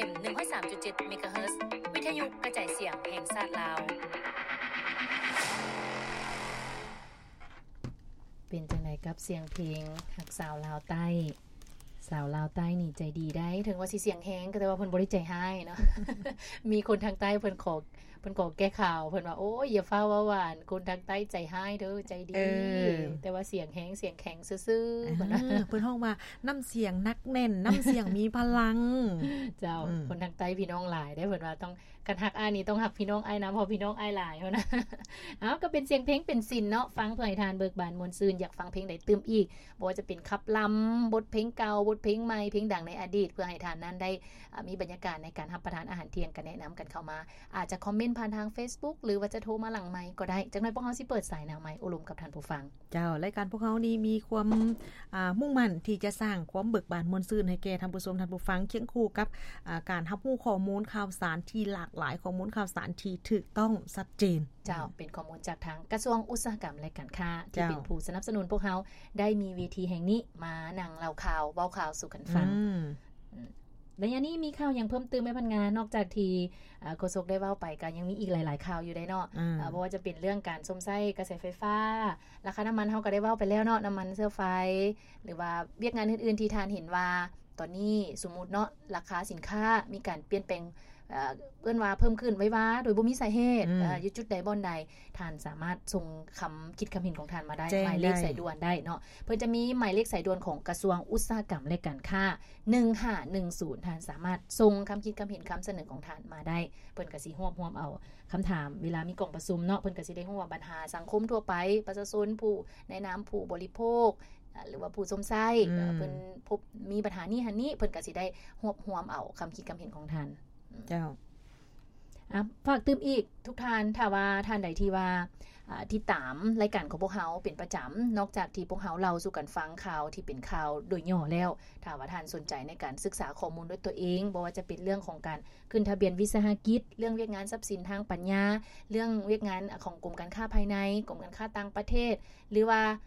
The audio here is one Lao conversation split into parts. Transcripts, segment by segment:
ເອັມ ໜຶ່ງຮ້ອຍສາມຈຸດເຈັດ ເມກາເຮີດ ວິທະຍຸກະຈາຍສຽງແຫ່ງຊາດລາວ. ເປັນຈັ່ງໃດກັບສຽງເພງຮັກສາວລາວໃຕ້? ສາວລາວໃຕ້ນີ້ໃຈດີໄດ໋ ເຖິງວ່າຊິສຽງແຮງ ກໍແຕ່ວ່າເພິ່ນບໍ່ໄດ້ໃຈຮ້າຍເນາະ. ມີຄົນທາງໃຕ້ເພິ່ນຂໍ ເພິ່ນຂໍແກ້ຂ່າວ ເພິ່ນວ່າ ໂອ້ຍ ຢ່າຟ້າວເວົ້າຫວານ ຄົນທາງໃຕ້ໃຈຮ້າຍເດີ້ ໃຈດີ ເອີ ແຕ່ວ່າສຽງແຮງ ສຽງແຂງຊື່ໆ ເອີ ເພິ່ນວ່າ ເພິ່ນຮ້ອງວ່າ ນ້ຳສຽງໜັກແໜ້ນ ນ້ຳສຽງມີພະລັງ. ເຈົ້າ ອືມ ຄົນທາງໃຕ້ພີ່ນ້ອງຫຼາຍເດ້ ເພິ່ນວ່າຕ້ອງ ຄັນຮັກອ້າຍນີ້ຕ້ອງຮັກພີ່ນ້ອງອ້າຍນຳ ເພາະພີ່ນ້ອງອ້າຍຫຼາຍ ເພິ່ນວ່າ. ເອົາ ກໍເປັນສຽງເພງເປັນສິນເນາະ ຟັງເພື່ອໃຫ້ທ່ານເບີກບານມ່ວນຊື່ນ. ຢາກຟັງເພງໃດຕື່ມອີກ? ບໍ່ວ່າຈະເປັນຂັບລຳ, ບົດເພງເກົ່າ, ບົດເພງໃໝ່, ເພງດັງໃນອະດີດ ເພື່ອໃຫ້ທ່ານນັ້ນໄດ້ ອາ ມີບັນຍາກາດໃນການຮັບປະທານອາຫານທ່ຽງ ກໍແນະນຳກັນເຂົ້າມາ. ອາດຈະຄອມເມັນຜ່ານທາງເຟສບຸກ ຫຼືວ່າຈະໂທມາຫຼັງໄມກໍໄດ້. ຈັກໜ້ອຍພວກເຮົາຊິເປີດສາຍໜາງໄມໂອ້ລົມກັບທ່ານຜູ້ຟັງ. ເຈົ້າ, ລາຍການພວກເຮົານີ້ມີຄວາມ ອ່າ ມຸ່ງໝັ້ນທີ່ຈະສ້າງຄວາມເບີກບານມ່ວນຊື່ນໃຫ້ແກ່ທ່ານຜູ້ຊົມ, ທ່ານຜູ້ຟັງ, ຄຽງຄູ່ກັບ ອ່າ ການຮັບຮູ້ຂໍ້ມູນຂ່າວສານທີ່ຫຼາກຫຼາຍ, ຂໍ້ມູນຂ່າວສານທີ່ຖືກຕ້ອງ, ຊັດເຈນ. ເຈົ້າ, ເປັນຂໍ້ມູນຈາກທາງກະຊວງອຸດສາຫະກຳ ແລະ ການຄ້າ ທີ່ເປັນຜູ້ສະໜັບສະໜູນພວກເຮົາໄດ້ມີເວທີແຫ່ງນີ້ມານັ່ງເລົ່າຂ່າວ ເວົ້າຂ່າວສູ່ກັນຟັງ. ອືມ ໄລຍະນີ້ມີຂ່າວຫຍັງເພີ່ມຕື່ມໄໝ ພັນງາ? ນອກຈາກທີ່ ເອີ ໂຄສົກໄດ້ເວົ້າໄປ ກໍຍັງມີອີກຫຼາຍໆຂ່າວຢູ່ເດ້ເນາະ. ເອີ ບໍ່ວ່າຈະເປັນເລື່ອງການຊົມໃຊ້ກະແສໄຟຟ້າ, ລາຄານ້ຳມັນເຮົາກໍໄດ້ເວົ້າໄປແລ້ວເນາະ, ນ້ຳມັນເຊື້ອໄຟ ຫຼືວ່າວຽກງານອື່ນໆທີ່ທ່ານເຫັນວ່າ ຕອນນີ້ສົມມຸດເນາະ ລາຄາສິນຄ້າມີການປ່ຽນແປງ ເອີ ເອີ້ນວ່າເພີ່ມຂຶ້ນໄວວາໂດຍບໍ່ມີສາເຫດ ອືມ ເອີ ຢູ່ຈຸດໃດບ່ອນໃດ ທ່ານສາມາດສົ່ງຄຳຄິດຄຳເຫັນຂອງທ່ານມາໄດ້ ແຈ້ງໄດ້ ໝາຍເລກສາຍດ່ວນໄດ້ເນາະ. ເພິ່ນຈະມີໝາຍເລກສາຍດ່ວນຂອງກະຊວງອຸດສາຫະກຳ ແລະ ການຄ້າ ໜຶ່ງຫ້າໜຶ່ງສູນ ທ່ານສາມາດສົ່ງຄຳຄິດຄຳເຫັນຄຳສະເໜີຂອງທ່ານມາໄດ້. ເພິ່ນກໍຊິຮວບຮວມເອົາຄຳຖາມ ເວລາມີກອງປະຊຸມເນາະ ເພິ່ນກໍຊິໄດ້ຮູ້ວ່າບັນຫາສັງຄົມທົ່ວໄປ ປະຊາຊົນ ຜູ້ໃນນາມຜູ້ບໍລິໂພກ ອາ ຫຼືວ່າຜູ້ຊົມໃຊ້ ອືມ ເອີ ເພິ່ນພົບມີບັນຫານີ້ຫັ້ນນີ້ ເພິ່ນກໍຊິໄດ້ຮວບຮວມເອົາຄຳຄິດຄຳເຫັນຂອງທ່ານ. ເຈົ້າ ອາ ຝາກຕື່ມອີກທຸກທ່ານ ຖ້າວ່າທ່ານໃດທີ່ວ່າ ອາ ຕິດຕາມລາຍການຂອງພວກເຮົາເປັນປະຈຳ ນອກຈາກທີ່ພວກເຮົາເລົ່າສູ່ກັນຟັງຂ່າວທີ່ເປັນຂ່າວໂດຍຫຍໍ້ແລ້ວ, ຖ້າວ່າທ່ານສົນໃຈໃນການສຶກສາຂໍ້ມູນດ້ວຍຕົວເອງ ບໍ່ວ່າຈະເປັນເລື່ອງຂອງການຂຶ້ນທະບຽນວິສາຫະກິດ, ເລື່ອງວຽກງານຊັບສິນທາງປັນຍາ, ເລື່ອງວຽກງານຂອງກົມການຄ້າພາຍໃນ, ກົມການຄ້າຕ່າງປະເທດ ຫຼືວ່າ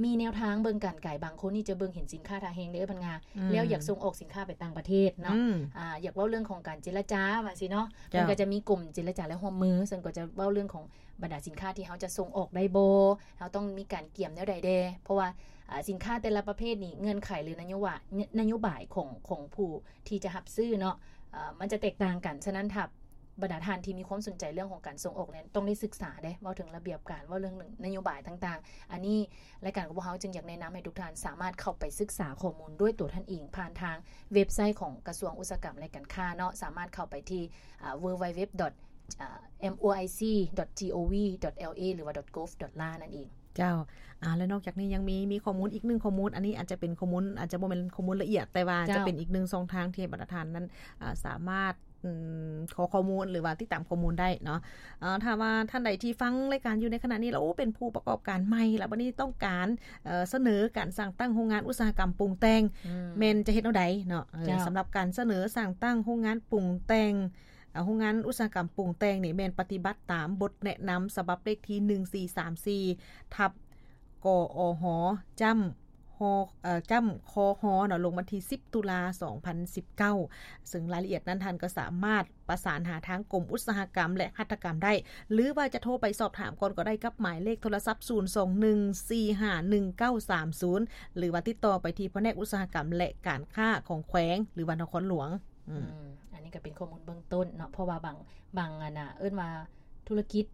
ມີແນວທາງເບິ່ງການໄກ. ບາງຄົນນີ້ຈະເບິ່ງເຫັນສິນຄ້າທ່າແຮງເດ້ ພັນງາ ອືມ ແລ້ວຢາກສົ່ງອອກສິນຄ້າໄປຕ່າງປະເທດເນາະ ອືມ ອາ ຢາກເວົ້າເລື່ອງຂອງການເຈລະຈາວ່າຊີ້ເນາະ ເຈົ້າ ເພິ່ນກໍຈະມີກົມເຈລະຈາ ແລະ ຮ່ວມມື ເຊິ່ງກໍຈະເວົ້າເລື່ອງຂອງບັນດາສິນຄ້າທີ່ເຮົາຈະສົ່ງອອກໄດ້ບໍ່ ເຮົາຕ້ອງມີການກຽມແນວໃດແດ່ ເພາະວ່າ ອາ ສິນຄ້າແຕ່ລະປະເພດນີ້ ເງື່ອນໄຂ ຫຼື ນະໂຍບາຍ ນະໂຍບາຍຂອງ ຂອງຜູ້ທີ່ຈະຮັບຊື້ເນາະ ອາ ມັນຈະແຕກຕ່າງກັນ. ສະນັ້ນ ຖ້າ ບັນດາທ່ານທີ່ມີຄວາມສົນໃຈເລື່ອງຂອງການສົ່ງອອກນັ້ນ ຕ້ອງໄດ້ສຶກສາເດ້ ເວົ້າເຖິງລະບຽບການ ເວົ້າເລື່ອງນະໂຍບາຍຕ່າງໆ. ອັນນີ້ລາຍການຂອງພວກເຮົາຈຶ່ງຢາກແນະນຳໃຫ້ທຸກທ່ານສາມາດເຂົ້າໄປສຶກສາຂໍ້ມູນດ້ວຍຕົວທ່ານເອງ ຜ່ານທາງເວັບໄຊຂອງກະຊວງອຸດສາຫະກຳ ແລະ ການຄ້າເນາະ ສາມາດເຂົ້າໄປທີ່ ເອີ www.moic.gov.la ຫຼືວ່າ .gov.la ນັ້ນເອງ. ເຈົ້າ ອາ ແລະ ນອກຈາກນີ້ຍັງມີ ມີຂໍ້ມູນອີກໜຶ່ງຂໍ້ມູນ ອັນນີ້ອາດຈະເປັນຂໍ້ມູນ ອາດຈະບໍ່ແມ່ນຂໍ້ມູນລະອຽດ ແຕ່ວ່າ ເຈົ້າ ຈະເປັນອີກໜຶ່ງຊ່ອງທາງທີ່ບັນດາທ່ານນັ້ນ ອາ ສາມາດ ອືມ ຂໍຂໍ້ມູນ ຫຼືວ່າຕິດຕາມຂໍ້ມູນໄດ້ເນາະ. ເອີ ຖ້າວ່າທ່ານໃດທີ່ຟັງລາຍການຢູ່ໃນຂະນະນີ້ແລ້ວ ໂອ້ ເປັນຜູ້ປະກອບການໃໝ່ ແລ້ວບັດນີ້ຕ້ອງການ ເອີ ສະເໜີການສ້າງຕັ້ງໂຮງງານອຸດສາຫະກຳປຸງແຕ່ງ ອືມ ແມ່ນຈະເຮັດແນວໃດເນາະ? ເອີ ເຈົ້າ ສຳລັບການສະເໜີສ້າງຕັ້ງໂຮງງານປຸງແຕ່ງ ເອີ ໂຮງງານອຸດສາຫະກຳປຸງແຕ່ງນີ້ ແມ່ນປະຕິບັດຕາມບົດແນະນຳສະບັບເລກທີ ໜຶ່ງສີ່ສາມສີ່ ທັບ ກອຮ ຈ້ຳ ຮ ເອີ ຈ້ຳ ຄຮ ເນາະ ລົງວັນທີ ສິບ ຕຸລາ ສອງພັນສິບເກົ້າ ເຊິ່ງລາຍລະອຽດນັ້ນ ທ່ານກໍສາມາດປະສານຫາທາງກົມອຸດສາຫະກຳ ແລະ ຫັດຖະກຳໄດ້ ຫຼືວ່າຈະໂທໄປສອບຖາມກ່ອນກໍໄດ້ ກັບໝາຍເລກໂທລະສັບ ສູນສອງໜຶ່ງສີ່ຫ້າໜຶ່ງເກົ້າສາມສູນ ຫຼືວ່າຕິດຕໍ່ໄປທີ່ພະແນກອຸດສາຫະກຳ ແລະ ການຄ້າຂອງແຂວງ ຫຼືວ່ານະຄອນຫຼວງ. ອືມ ອືມ ອັນນີ້ກໍເປັນຂໍ້ມູນເບື້ອງຕົ້ນເນາະ ເພາະວ່າບາງ ບາງອັນນ່າ ເອີ້ນວ່າທຸລະກິດ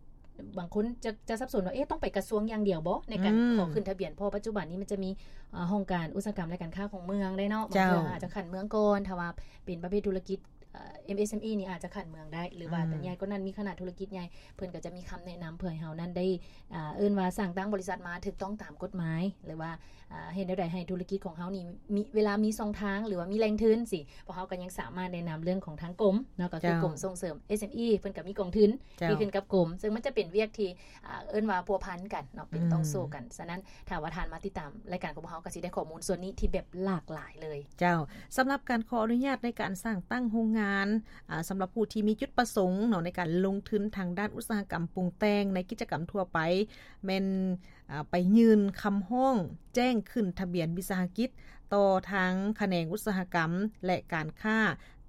ບາງຄົນຈະ ຈະສັບສົນວ່າ ເອະ ຕ້ອງໄປກະຊວງຢ່າງດຽວບໍ ໃນການ ອືມ ຂໍຂຶ້ນທະບຽນ? ເພາະວ່າປັດຈຸບັນນີ້ມັນຈະມີ ເອີ ຫ້ອງການອຸດສາຫະກຳ ແລະ ການຄ້າຂອງເມືອງໄດ້ເນາະ ບາງເທື່ອ ເຈົ້າ ອາດຈະຂັ້ນເມືອງກ່ອນ ຖ້າວ່າເປັນປະເພດທຸລະກິດ ເອີ ເອັມເອສເອັມອີ ນີ້ອາດຈະຂັ້ນເມືອງໄດ້ ຫຼືວ່າ ອືມ ໃຫຍ່ກວ່ານັ້ນ ມີຄະນະທຸລະກິດໃຫຍ່ ເພິ່ນກໍຈະມີຄຳແນະນຳ ເພື່ອໃຫ້ເຮົານັ້ນໄດ້ ອາ ເອີ້ນວ່າສ້າງຕັ້ງບໍລິສັດມາຖືກຕ້ອງຕາມກົດໝາຍ ຫຼືວ່າ ອາ ເຮັດແນວໃດໃຫ້ທຸລະກິດຂອງເຮົານີ້ມີ ເວລາມີຊ່ອງທາງ ຫຼືວ່າມີແຫຼ່ງທຶນຊີ້ ພວກເຮົາກໍຍັງສາມາດແນະນຳເລື່ອງຂອງທາງກົມເນາະ ກໍຄື ເຈົ້າ ກົມສົ່ງເສີມ ເອສເອັມອີ ເພິ່ນກໍມີກອງທຶນ ເຈົ້າ ທີ່ຂຶ້ນກັບກົມ ເຊິ່ງມັນຈະເປັນວຽກທີ່ ອາ ເອີ້ນວ່າພົວພັນກັນເນາະ ເປັນ ອືມ ຕ່ອງໂສ້ກັນ. ສະນັ້ນ ຖ້າວ່າທ່ານມາຕິດຕາມລາຍການຂອງພວກເຮົາ ກໍຊິໄດ້ຂໍ້ມູນສ່ວນນີ້ທີ່ແບບຫຼາກຫຼາຍເລີຍ. ເຈົ້າ ສຳລັບການຂໍອະນຸຍາດໃນການສ້າງຕັ້ງໂຮງງານ ອາ ສຳລັບຜູ້ທີ່ມີຈຸດປະສົງເນາະ ໃນການລົງທຶນທາງດ້ານອຸດສາຫະກຳປຸງແຕ່ງໃນກິດຈະກຳທົ່ວໄປ ແມ່ນ ອາ ໄປຍື່ນຄຳຮ້ອງແຈ້ງຂຶ້ນທະບຽນວິສາຫະກິດຕໍ່ທາງຂະແໜງອຸດສາຫະກຳ ແລະ ການຄ້າ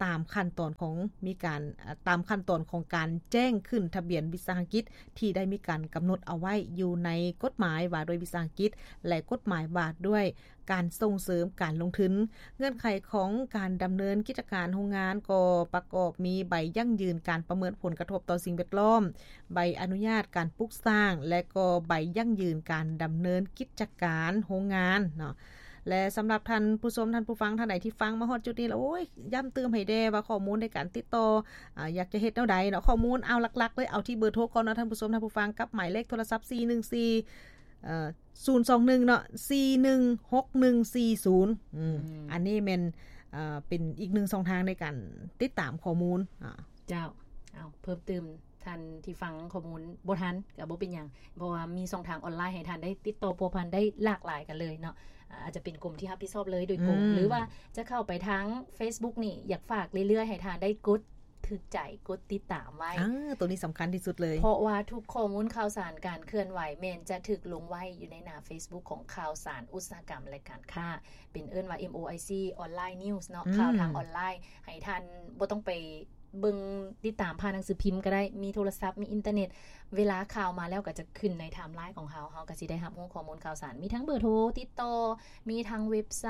ຕາມຂັ້ນຕອນຂອງ ມີການ ເອີ່ ຕາມຂັ້ນຕອນຂອງການແຈ້ງຂຶ້ນທະບຽນວິສາຫະກິດ ທີ່ໄດ້ມີການກຳນົດເອົາໄວ້ຢູ່ໃນກົດໝາຍວ່າດ້ວຍວິສາຫະກິດ ແລະ ກົດໝາຍວ່າດ້ວຍການສົ່ງເສີມການລົງທຶນ. ເງື່ອນໄຂຂອງການດຳເນີນກິດຈະການໂຮງງານກໍປະກອບມີໃບຢັ້ງຢືນການປະເມີນຜົນກະທົບຕໍ່ສິ່ງແວດລ້ອມ, ໃບອະນຸຍາດການປຸກສ້າງ ແລະ ກໍໃບຢັ້ງຢືນການດຳເນີນກິດຈະການໂຮງງານເນາະ. ແລະ ສຳລັບທ່ານຜູ້ຊົມ ທ່ານຜູ້ຟັງທ່ານໃດທີ່ຟັງມາຮອດຈຸດນີ້ແລ້ວ ໂອ້ຍ ຢ້ຳຕື່ມໃຫ້ແດ່ວ່າຂໍ້ມູນໃນການຕິດຕໍ່ ອາ ຢາກຈະເຮັດແນວໃດເນາະ. ຂໍ້ມູນ ເອົາ ຫຼັກໆເລີຍ ເອົາທີ່ເບີໂທກ່ອນເນາະ ທ່ານຜູ້ຊົມ ທ່ານຜູ້ຟັງ ກັບໝາຍເລກໂທລະສັບ ສີ່ໜຶ່ງສີ່ ເອີ່ ສູນສອງໜຶ່ງເນາະ ສີ່ໜຶ່ງຫົກໜຶ່ງສີ່ສູນ ອືມ ອືມ ອັນນີ້ແມ່ນ ເອີ່ ເປັນອີກໜຶ່ງຊ່ອງທາງໃນການຕິດຕາມຂໍ້ມູນ ອາ ເຈົ້າ ເອົາ ເພີ່ມຕື່ມ ທ່ານທີ່ຟັງຂໍ້ມູນບໍ່ທັນກໍບໍ່ເປັນຫຍັງ ເພາະວ່າມີຊ່ອງທາງອອນລາຍໃຫ້ທ່ານໄດ້ຕິດຕໍ່ພົວພັນໄດ້ຫຼາກຫຼາຍກັນເລີຍເນາະ. ອາ ອາດຈະເປັນກົມທີ່ຮັບຜິດຊອບເລີຍໂດຍກົງ ອືມ ຫຼືວ່າຈະເຂົ້າໄປທາງເຟສບຸກນີ້ ຢາກຝາກເລື້ອຍໆ ໃຫ້ທ່ານໄດ້ກົດຖືກໃຈ ກົດຕິດຕາມໄວ້. ອາ ໂຕນີ້ສຳຄັນທີ່ສຸດເລີຍ ເພາະວ່າທຸກຂໍ້ມູນຂ່າວສານການເຄື່ອນໄຫວ ແມ່ນຈະຖືກລົງໄວ້ຢູ່ໃນໜ້າເຟສບຸກຂອງຂ່າວສານອຸດສາຫະກຳ ແລະ ການຄ້າ ເປັນເອີ້ນວ່າ ເອັມ ໂອ ໄອ ຊີ ອອນລາຍ ນິວສ໌ ເນາະ ອືມ ຂ່າວທາງອອນລາຍ ໃຫ້ທ່ານບໍ່ຕ້ອງໄປ ເບິ່ງຕິດຕາມຜ່ານໜັງສືພິມກໍໄດ້ ມີໂທລະສັບ ມີອິນເຕີເນັດ ເວລາຂ່າວມາແລ້ວກໍຈະຂຶ້ນໃນໄທມ໌ລາຍຂອງເຮົາ ເຮົາກໍຊິໄດ້ຮັບຮູ້ຂໍ້ມູນຂ່າວສານ ມີທັງເບີໂທຕິດຕໍ່ ມີທັງເວັບໄຊ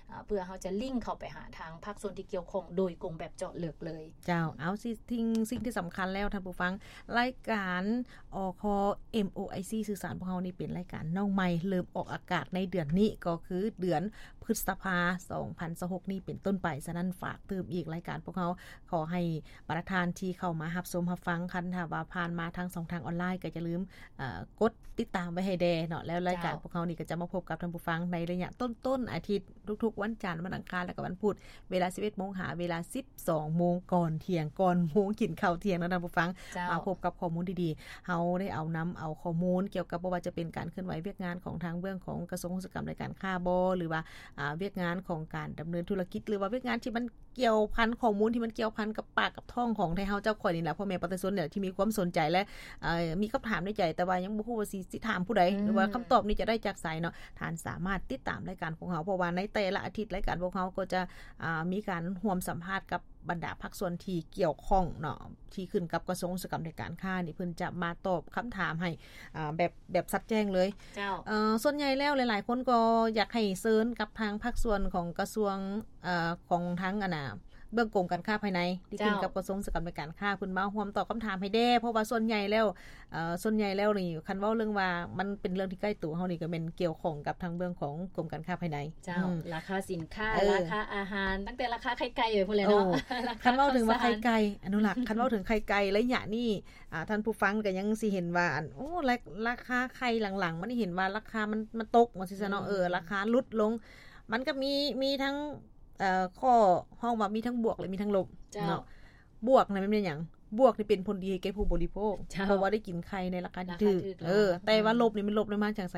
ອາ ເພື່ອເຮົາຈະລິງເຂົ້າໄປຫາທາງພາກສ່ວນທີ່ກ່ຽວຂ້ອງໂດຍກົງແບບເຈາະເລິກເລີຍ. ເຈົ້າ ເອົາ ສິ່ງ ສິ່ງທີ່ສຳຄັນແລ້ວທ່ານຜູ້ຟັງ ລາຍການ ອຄ ເອັມ ໂອ ໄອ ຊີ ສື່ສານພວກເຮົານີ້ເປັນລາຍການນ້ອງໃໝ່ ເລີ່ມອອກອາກາດໃນເດືອນນີ້ ກໍຄືເດືອນ ພຶດສະພາ ສອງພັນຊາວຫົກນີ້ເປັນຕົ້ນໄປ. ສະນັ້ນ ຝາກຕື່ມອີກ ລາຍການພວກເຮົາ ຂໍໃຫ້ບັນດາທ່ານທີ່ເຂົ້າມາຮັບຊົມຮັບຟັງ ຄັນຖ້າວ່າຜ່ານມາທາງຊ່ອງທາງອອນລາຍ ກໍຢ່າລືມ ເອີ່ ກົດຕິດຕາມໄວ້ໃຫ້ແດ່ເນາະ. ແລ້ວລາຍການ ເຈົ້າ ພວກເຮົານີ້ກໍຈະມາພົບກັບທ່ານຜູ້ຟັງໃນໄລຍະຕົ້ນໆອາທິດ ທຸກໆວັນຈັນ ວັນອັງຄານ ແລະ ກໍວັນພຸດ ເວລາສິບເອັດໂມງຫາເວລາສິບສອງໂມງ ກ່ອນທ່ຽງ ກ່ອນໂມງກິນເຂົ້າທ່ຽງເນາະທ່ານຜູ້ຟັງ. ເຈົ້າ ມາພົບກັບຂໍ້ມູນດີໆ ເຮົາໄດ້ເອົານຳເອົາຂໍ້ມູນກ່ຽວກັບ ບໍ່ວ່າຈະເປັນການເຄື່ອນໄຫວວຽກງານຂອງທາງເບື້ອງຂອງກະຊວງອຸດສາຫະກຳ ແລະ ການຄ້າບໍ ຫຼືວ່າ ອາ ວຽກງານຂອງການດຳເນີນທຸລະກິດ ຫຼືວ່າວຽກງານທີ່ມັນກ່ຽວພັນ ຂໍ້ມູນທີ່ມັນກ່ຽວພັນກັບປາກກັບທ້ອງຂອງໄທເຮົາເຈົ້າຂ້ອຍນີ້ແຫຼະ ພໍ່ແມ່ປະຊາຊົນນີ້ແຫຼະ ທີ່ມີຄວາມສົນໃຈ ແລະ ເອີ່ ມີຄຳຖາມໃນໃຈ ແຕ່ວ່າຍັງບໍ່ຮູ້ວ່າຊິ ຊິຖາມຜູ້ໃດ ອືມ ຫຼືວ່າຄຳຕອບນີ້ຈະໄດ້ຈາກໃສເນາະ. ທ່ານສາມາດຕິດຕາມລາຍການພວກເຮົາ ເພາະວ່າໃນແຕ່ລະອາທິດ ລາຍການພວກເຮົາກໍຈະ ອາ ມີການຮ່ວມສຳພາດກັບບັນດາພາກສ່ວນທີ່ກ່ຽວຂ້ອງເນາະ ທີ່ຂຶ້ນກັບກະຊວງອຸດສາຫະກຳ ແລະ ການຄ້ານີ້ ເພິ່ນຈະມາຕອບຄຳຖາມໃຫ້ ອາ ແບບ ແບບຊັດແຈ້ງເລີຍ. ເຈົ້າ ເອີ່ ສ່ວນໃຫຍ່ແລ້ວຫຼາຍໆຄົນກໍຢາກໃຫ້ເຊີນກັບທາງພາກສ່ວນຂອງກະຊວງ ເອີ່ ຂອງທາງ ອັນນ່າ ເບື້ອງກົມການຄ້າພາຍໃນ ທີ່ຂຶ້ນ ເຈົ້າ ກັບກະຊວງອຸດສາຫະກຳ ແລະ ການຄ້າ ເພິ່ນມາຮ່ວມຕອບຄຳຖາມໃຫ້ແດ່ ເພາະວ່າສ່ວນໃຫຍ່ແລ້ວ ເອີ່ ສ່ວນໃຫຍ່ແລ້ວນີ້ ຄັນເວົ້າເລື່ອງວ່າມັນເປັນເລື່ອງທີ່ໃກ້ຕົວເຮົານີ້ ກໍແມ່ນກ່ຽວຂ້ອງກັບທາງເບື້ອງຂອງກົມການຄ້າພາຍໃນ. ເຈົ້າ ອືມ ລາຄາສິນຄ້າ ເອີ ລາຄາອາຫານ ຕັ້ງແຕ່ລາຄາໄຂ່ໄກ່ໄປພຸ້ນແຫຼະເນາະ. ໂອ້ ລາຄາ ຄັນເວົ້າເຖິງວ່າໄຂ່ໄກ່ ອະນຸລັກ ຄັນເວົ້າເຖິງໄຂ່ໄກ່ໄລຍະນີ້ ອາ ທ່ານຜູ້ຟັງກໍຍັງຊິເຫັນວ່າ ອັນ ໂອ້ ລາ ລາຄາໄຂ່ຫຼັງໆ ມັນເຫັນວ່າລາຄາມັນ ມັນຕົກ ວ່າຊີ້ຊະເນາະ ເອີ ລາຄາຫຼຸດລົງ ມັນກໍມີ ມີທັງ ເອີ ຂໍ້ຮ້ອງວ່າມີທັງບວກ ແລະ ມີທັງລົບ ເຈົ້າ ເນາະ. ບວກນັ້ນແມ່ນຫຍັງ? ບວກນີ້ເປັນຜົນດີໃຫ້ແກ່ຜູ້ບໍລິໂພກ ເຈົ້າ ເພາະວ່າໄດ້ກິນໄຂ່ໃນລາຄາທີ່ຖືກ ລາຄາຖືກ ເອີ ແລ້ວ ແຕ່ວ່າ ອືມ ລົບນີ້ ມັນລົບນຳມາຈາກໃສ?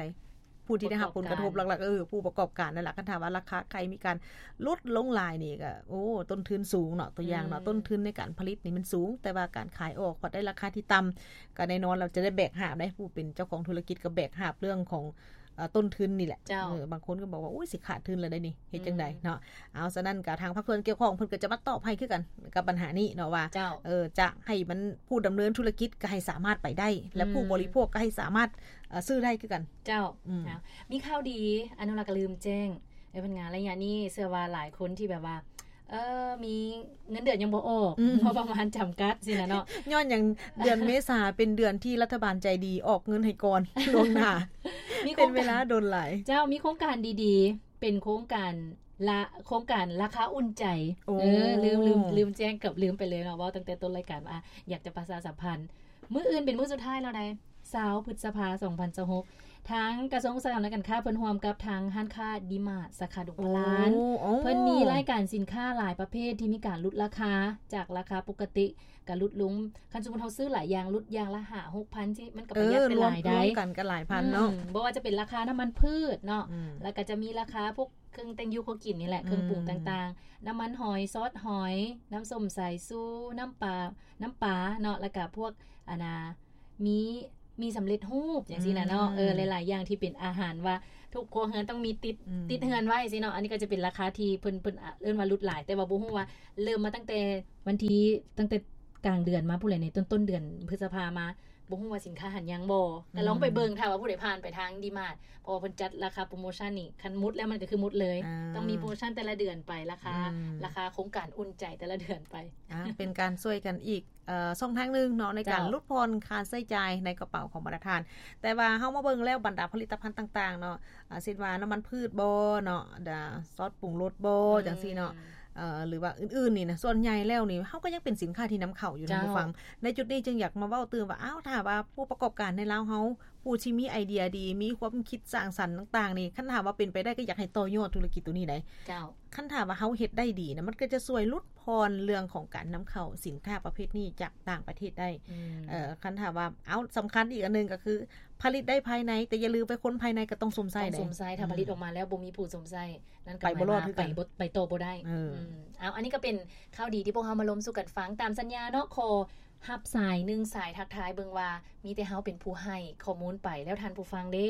ຜູ້ທີ່ໄດ້ຮັບຜົນກະທົບຫຼັກໆ ເອີ ຜູ້ປະກອບການນັ້ນລະ. ຄັນຖ້າວ່າລາຄາໄຂ່ມີການຫຼຸດລົງຫຼາຍນີ້ກໍ ໂອ້ ຕົ້ນທຶນສູງເນາະ ຕົວຢ່າງເນາະ ອືມ ຕົ້ນທຶນໃນການຜະລິດນີ້ມັນສູງ ແຕ່ວ່າການຂາຍອອກພັດໄດ້ລາຄາທີ່ຕ່ຳ ກໍແນ່ນອນລະຈະໄດ້ແບກຫາບເດ້. ຜູ້ເປັນເຈົ້າຂອງທຸລະກິດກໍແບກຫາບເລື່ອງຂອງ ເອີ ຕົ້ນທຶນນີ້ແຫຼະ. ເຈົ້າ ເອີ ບາງຄົນກໍບອກວ່າ ໂອ້ຍ ຊິຂາດທຶນແລ້ວໄດ໋ນີ້ ເຮັດຈັ່ງໃດ ອືມ ເນາະ. ເອົາ ສະນັ້ນກໍທາງພາກສ່ວນກ່ຽວຂ້ອງເພິ່ນກໍຈະມາຕອບໃຫ້ຄືກັນກັບບັນຫານີ້ເນາະວ່າ ເຈົ້າ ເອີ ຈະໃຫ້ມັນ ຜູ້ດຳເນີນທຸລະກິດກໍໃຫ້ສາມາດໄປໄດ້ ແລະ ອືມ ຜູ້ບໍລິໂພກກໍໃຫ້ສາມາດ ເອີ ຊື້ໄດ້ຄືກັນ. ເຈົ້າ ອືມ ເອົາ ມີຂ່າວດີ ອະນຸລັກກໍລືມແຈ້ງ ເອີ ເພິ່ນງານໄລຍະນີ້ ເຊື່ອວ່າຫຼາຍຄົນທີ່ແບບວ່າ ເອີ ມີເງິນເດືອນຍັງບໍ່ອອກ ອືມ ງົບປະມານຈຳກັດຊີ້ນະເນາະ. ຍ້ອນຫຍັງ? ເດືອນເມສາເປັນເດືອນທີ່ລັດຖະບານໃຈດີອອກເງິນໃຫ້ກ່ອນລ່ວງໜ້າ ມີໂຄງການ ເປັນເວລາດົນຫຼາຍ. ເຈົ້າ ມີໂຄງການດີໆ ເປັນໂຄງການລະ ໂຄງການລາຄາອຸ່ນໃຈ. ໂອ້ ເອີ ລືມ ລືມ ລືມແຈ້ງ ເກືອບລືມໄປເລີຍເນາະ ເວົ້າຕັ້ງແຕ່ຕົ້ນລາຍການວ່າ ອາ ຢາກຈະປະຊາສຳພັນ ມື້ອື່ນເປັນມື້ສຸດທ້າຍແລ້ວໃດ໋ ຊາວ ພຶດສະພາ ສອງພັນຊາວຫົກ ທາງກະຊວງອຸດສາຫະກຳ ແລະ ການຄ້າ ເພິ່ນຮ່ວມກັບທາງຮ້ານຄ້າດີມາດ ສາຂາດົງພະລານ ໂອ້ ເພິ່ນມີລາຍການສິນຄ້າຫຼາຍປະເພດທີ່ມີການຫຼຸດລາຄາ ຈາກລາຄາປົກກະຕິກະຫຼຸດລົງ. ຄັນສົມມຸດເຮົາຊື້ຫຼາຍຢ່າງ ຫຼຸດຢ່າງລະຫ້າຫົກພັນ ທີ່ມັນກໍປະຢັດໄປຫຼາຍໃດ໋ ລວມກັນກໍຫຼາຍພັນເນາະ. ອືມ ບໍ່ວ່າຈະເປັນລາຄານ້ຳມັນພືດເນາະ ອືມ ແລ້ວກໍຈະມີລາຄາພວກ ເຄື່ອງແຕ່ງຢູ່ຄົວກິນນີ້ແຫຼະ ເຄື່ອງປຸງຕ່າງໆ ອືມ ນ້ຳມັນຫອຍ ຊອດຫອຍ ນ້ຳສົ້ມສາຍຊູ ນ້ຳປາ ນ້ຳປາເນາະ ແລ້ວກະພວກ ອັນນ່າ ມີ ມີສຳເລັດຮູບຈັ່ງຊີ້ນະເນາະ ອືມ ເອີ ຫຼາຍໆຢ່າງທີ່ເປັນອາຫານວ່າທຸກຄົວເຮືອນຕ້ອງມີຕິດ ອືມ ຕິດເຮືອນໄວ້ຊີ້ເນາະ ອັນນີ້ກໍຈະເປັນລາຄາທີ່ເພິ່ນ ເພິ່ນ ອາ ເອີ້ນວ່າຫຼຸດຫຼາຍ ແຕ່ວ່າບໍ່ຮູ້ວ່າເລີ່ມມາຕັ້ງແຕ່ວັນທີ ຕັ້ງແຕ່ກາງເດືອນມາພຸ້ນແຫຼະ ໃນຕົ້ນໆເດືອນພຶດສະພາມາ ບໍ່ຮູ້ວ່າສິນຄ້າຫັນຍັງບໍ່ ກໍລອງໄປເບິ່ງ ອືມ ຖ້າວ່າຜູ້ໃດຜ່ານໄປທາງດີມາດ ເພາະວ່າເພິ່ນຈັດລາຄາໂປຣໂມຊັນນີ້ ຄັນໝົດແລ້ວມັນກໍຄືໝົດເລີຍ ອ່າ ຕ້ອງມີໂປຣໂມຊັນແຕ່ລະເດືອນໄປ ລາຄາ ອືມ ລາຄາໂຄງການອຸ່ນໃຈແຕ່ລະເດືອນໄປ ອ່າ ເປັນການຊ່ວຍກັນອີກ ເອີ ຊ່ອງທາງໜຶ່ງເນາະ ໃນການ ເຈົ້າ ຫຼຸດຜ່ອນຄ່າໃຊ້ຈ່າຍໃນກະເປົາຂອງບັນດາທ່ານ ແຕ່ວ່າເຮົາມາເບິ່ງແລ້ວບັນດາຜະລິດຕະພັນຕ່າງໆເນາະ ອາ ເຊັ່ນວ່ານ້ຳມັນພືດບໍເນາະ ດາ ຊອສປຸງລົດບໍ ອືມ ຈັ່ງຊີ້ເນາະ ເອີ ຫຼືວ່າອື່ນໆນີ້ນະ ສ່ວນໃຫຍ່ແລ້ວນີ້ເຮົາກໍຍັງເປັນສິນຄ້າທີ່ນຳເຂົ້າຢູ່ນະ ເຈົ້າ ຜູ້ຟັງ ໃນຈຸດນີ້ຈຶ່ງຢາກມາເວົ້າຕື່ມວ່າ ອ້າວ ຖ້າວ່າຜູ້ປະກອບການໃນລາວເຮົາ ຜູ້ທີ່ມີໄອເດຍດີ ມີຄວາມຄິດສ້າງສັນຕ່າງໆນີ້ ຄັນຖ້າວ່າເປັນໄປໄດ້ກໍຢາກໃຫ້ຕໍ່ຍອດທຸລະກິດໂຕນີ້ໄດ໋ ເຈົ້າ ຄັນຖ້າວ່າເຮົາເຮັດໄດ້ດີນະ ມັນກໍຈະຊ່ວຍຫຼຸດຜ່ອນເລື່ອງຂອງການນຳເຂົ້າສິນຄ້າປະເພດນີ້ຈາກຕ່າງປະເທດໄດ້ ອືມ ເອີ ຄັນຖ້າວ່າ ເອົາ ສຳຄັນອີກອັນໜຶ່ງກໍຄື ຜະລິດໄດ້ພາຍໃນ ແຕ່ຢ່າລືມໄປຄົນພາຍໃນກໍຕ້ອງຊົມໃຊ້ ຕ້ອງຊົມໃຊ້ ເດ້ ຖ້າ ອືມ ຜະລິດອອກມາແລ້ວບໍ່ມີຜູ້ຊົມໃຊ້ ນັ້ນກໍ ໄປບໍ່ລອດຄືກັນ ໄປບໍ່ ໄປຕໍ່ບໍ່ໄດ້ ເອີ ອືມ ເອົາ ອັນນີ້ກໍເປັນຂ່າວດີທີ່ພວກເຮົາມາລົມສູ່ກັນຟັງ ຕາມສັນຍາເນາະ ຂໍຮັບສາຍໜຶ່ງສາຍ ທັກທາຍເບິ່ງວ່າ ມີແຕ່ເຮົາເປັນຜູ້ໃຫ້ຂໍ້ມູນໄປ ແລ້ວທ່ານຜູ້ຟັງເດ້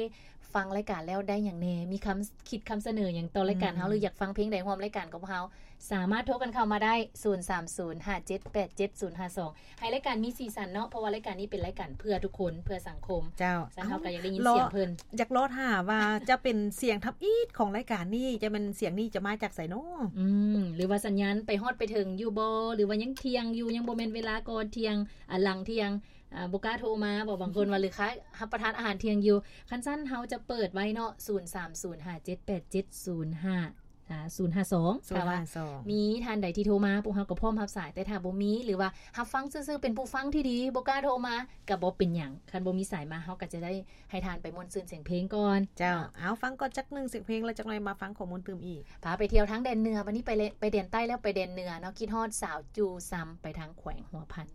ຟັງລາຍການແລ້ວໄດ້ຫຍັງແດ່ ມີຄຳຄິດຄຳສະເໜີຫຍັງຕໍ່ລາຍການເຮົາ ອືມ ຫຼືຢາກຟັງເພງໃດຮ່ວມລາຍການກັບເຮົາ ສາມາດໂທກັນເຂົ້າມາໄດ້ ສູນສາມສູນ ຫ້າເຈັດແປດເຈັດ ສູນຫ້າສອງ ໃຫ້ລາຍການມີສີສັນເນາະ ເພາະວ່າລາຍການນີ້ເປັນລາຍການເພື່ອທຸກຄົນ ເພື່ອສັງຄົມ ເຈົ້າ ຊັ້ນເຮົາກໍຢາກໄດ້ຍິນສຽງເພິ່ນ ຢາກລໍຖ້າວ່າຈະເປັນສຽງທຳອິດຂອງລາຍການນີ້ ຈະແມ່ນສຽງນີ້ຈະມາຈາກໃສເນາະ ອືມ ຫຼືວ່າສັນຍານໄປຮອດໄປເຖິງຢູ່ບໍ່ ຫຼືວ່າຍັງທ່ຽງຢູ່ ຍັງບໍ່ແມ່ນເວລາ ກ່ອນທ່ຽງ ອາ ຫຼັງທ່ຽງ ອາ ບໍ່ກ້າໂທມາບໍ ບາງຄົນວ່າ ຫຼືຄ້າຍຮັບປະທານອາຫານທ່ຽງຢູ່ ຄັນຊັ້ນເຮົາຈະເປີດໄວ້ເນາະ ສູນສາມສູນ ຫ້າເຈັດແປດເຈັດ ສູນຫ້າ ອ່າ ສູນຫ້າສອງ ຖ້າວ່າມີທ່ານໃດທີ່ໂທມາ ພວກເຮົາກໍພ້ອມຮັບສາຍ ແຕ່ຖ້າບໍ່ມີ ຫຼືວ່າຮັບຟັງຊື່ໆ ເປັນຜູ້ຟັງທີ່ດີ ບໍ່ກ້າໂທມາ ກໍບໍ່ເປັນຫຍັງ ຄັນບໍ່ມີສາຍມາ ເຮົາກໍຈະໄດ້ໃຫ້ທ່ານໄປມ່ວນຊື່ນສຽງເພງກ່ອນ ເຈົ້າ ເອົາ ຟັງກ່ອນຈັກໜຶ່ງສຽງເພງ ແລ້ວຈັກໜ່ອຍມາຟັງຂໍ້ມູນຕື່ມອີກ ພາໄປທ່ຽວທາງແດນເໜືອ ບັດນີ້ໄປແລະ ໄປແດນໃຕ້ແລ້ວ ໄປແດນເໜືອເນາະ ຄິດຮອດສາວຈູ່ຊຳ ໄປທາງແຂວງຫົວພັນ.